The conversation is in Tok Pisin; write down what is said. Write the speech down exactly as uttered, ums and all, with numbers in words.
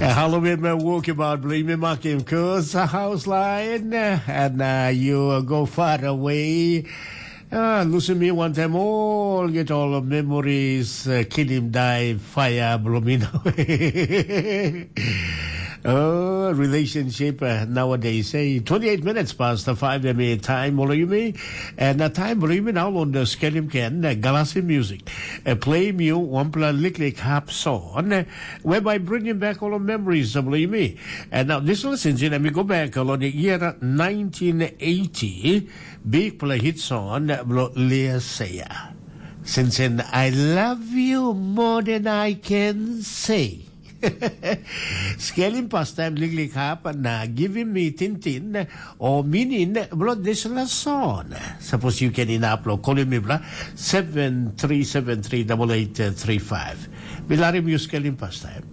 Halloween me woke about blame me makim cause a house line and uh, you uh, go far away. Uh, listen me one time all get all of memories uh, kill him die fire blow me away. Oh, relationship uh, nowadays say twenty-eight minutes past the five m time all you me and the time blow me now on the skelim can uh, galasi music uh, play me one pla liklik hap song uh, whereby bringing back all the memories of me. And now this listen, and we go back on the year nineteen eighty, big play hit song, Lea Seya. Since then, I love you more than I can say. Scaling pastime liklik hap na giving me tintin o meaning blo this la song. Suppose you can in up lo calling me bla seven three seven three double eight three five. Bilarim you scaling pastime.